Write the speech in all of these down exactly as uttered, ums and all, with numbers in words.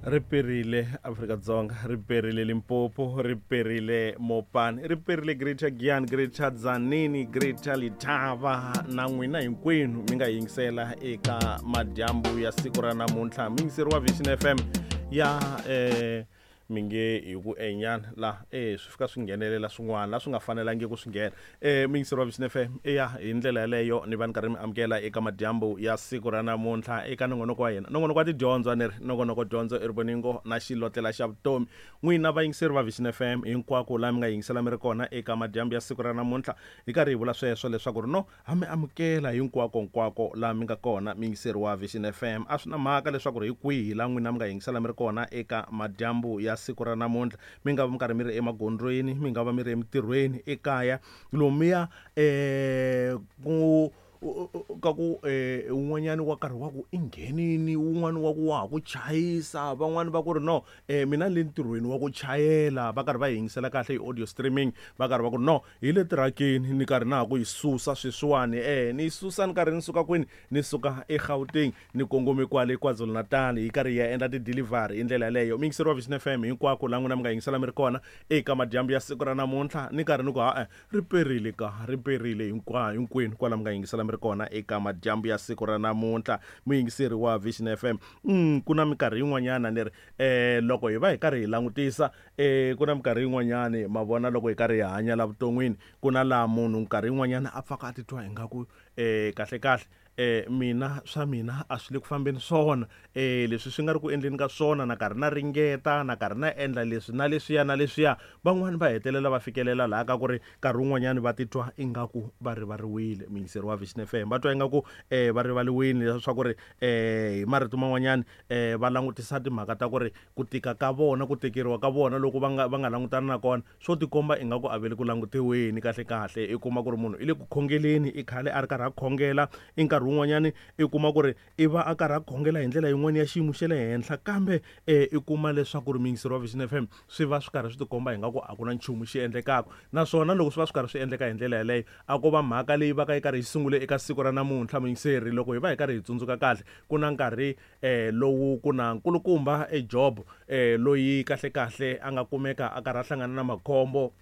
Ri perile Afrika-Dzonga, ri perile Limpopo, ri perile Mopani, ri perile Greater Giyani, Greater Tzaneen, Greater Letaba na n'wina hinkwenu mi nga yingisela eka madyambu ya siku ra namuntlha. Mi yingiseriwa Vision F M ya eh mi nge hi ku enyana la eh swi fika swi nghenelela swin'wana la swi nga fanelangi ku swi nghena. Eh mi yingiseriwa Vision F M eya hi ndlela yaleyo ni va ni karhi mi amukela eka madyambu ya siku ra namuntlha eka nongonoko wa hina, nongonoko wa tidyondzo ni ri nongonoko dyondzo i rivoningo na xilotlela xa vutomi. N'wina vayingiseri va Vision F M hinkwako laha mi nga yingisela mi ri kona eka madyambu ya siku ra namuntlha, hi karhi hi vula sweswo leswaku ri no ha mi amukela hinkwako hinkwako laha mi nga kona miyingiseri wa Vision F M. A swi na mhaka leswaku ri hi kwihi laha n'wina mi nga yingisela mi ri kona eka madyambu ya siku ra namuntlha, mi nga va mi karhi mi ri emagondzweni, mi nga va mi ri emitirhweni, ekaya, lomuya eh ku ka ku eh un'wanyani wa karhi wa ku i nghenini, wun'wani wa ku wa ha ku chayisa, van'wani va ku ri no eh mina ni le ntirhweni wa ku chayela, va karhi va yingisela kahle hi audio streaming, va karhi va ku no hi le tirakeni ni karhi na ha ku yi susa sweswiwani, eh ni yi susa ni karhi ni suka kwini, ni suka eGauteng ni kongome kwale KwaZulu-Natal hi karhi hi ya endla ti-delivery hi ndlela yaleyo. Mi yingiseriwa Vision F M hinkwako laha n'wina mi nga yingisela mi ri kona eka madyambu ya siku ra namuntlha, ni karhi ni ku ha-e ri perile ka ri perile hinkwa hinkwenu kwala mi nga yingisela mi ri kona eka madyambu ya siku ra namuntlha. Muyingiseri wa Vision F M, mm, ku na minkarhi yin'wanyana ni ri eh loko hi va hi karhi hi langutisa eh ku na minkarhi yin'wanyana ma vona loko hi karhi hi hanya la vuton'wini, ku na laha munhu nkarhi yin'wanyana a pfaka a titwa ingaku eh kahle kahle eh mina swa mina a swi le ku fambeni swona, eh leswi swi nga ri ku endleni ka swona, na karhi na ringeta, na karhi na endla leswi na leswiya na leswiya. Van'wani va hetelela va fikelela laha ka ku ri nkarhi wun'wanyani va titwa ingaku va rivariwile. Muyingiseri wa Vision F M va twa ingaku eh va rivariwile, leswaku ri eh hi marito man'wanyani eh va langutisa timhaka ta ku ri ku tika ka vona, ku tekeriwa ka vona loko va nga va nga langutana na kona, swo tikomba ingaku a ve le ku langutiweni kahle kahle. I kuma ku ri munhu i le ku khongeleni, i khale a ri karhi a khongela, i nkarhi wun'wanyani i kuma ku ri i va a karhi a khongela hi ndlela yin'wana ya xiyimo xa le henhla, kambe eh i kuma leswaku ri muyingiseri wa Vision F M swi va swi karhi swi tikomba ingaku a ku na nchumu xi endlekaka. Naswona loko swi va swi karhi swi endleka hi ndlela yaleyo, a ko va mhaka leyi va ka yi karhi yi sungule eka siku ra namuntlha. Muyingiseri, loko hi va hi karhi hi tsundzuka kahle, ku na nkarhi eh lowu ku na nkulukumba e Job eh loyi kahle kahle a nga kumeka a karhi a hlangana na makhombo,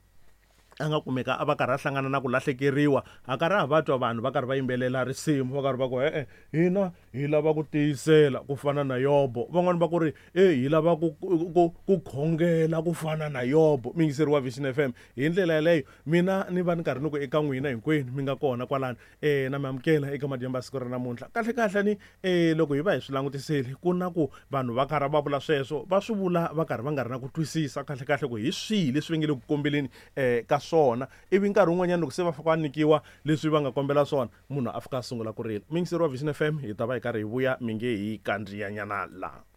a nga kumeka a va karhi a hlangana na ku lahlekeriwa, a karhi a va twa vanhu va karhi va yimbelela risimu, va karhi va ku e-e hina hi lava ku tiyisela ku fana na Yobo, van'wani va ku ri e hi lava ku, ku, ku khongela ku fana na Yobo. Muyingiseri wa Vision F M, hi ndlela yaleyo mina ni va ni karhi ni ku eka n'wina hinkwenu mi nga kona kwalano eh na mi amukela eka madyambu ya siku ra namuntlha. Kahle kahle ni eh loko hi va hi swi langutisile, ku na ku vanhu va karhi va vula sweswo, va swi vula va karhi va nga ri na ku twisisa kahle kahle ku hi swihi leswi va nge le ku kombeleni eh ka swona, ivi nkarhi wun'wanyana loko se va fika va nyikiwa leswi va nga kombela swona, munhu a fika a sungula ku rila. Muyingiseri wa Vision F M, hi ta va hi karhi hi vuya mi nge hi kandziyanyana laha.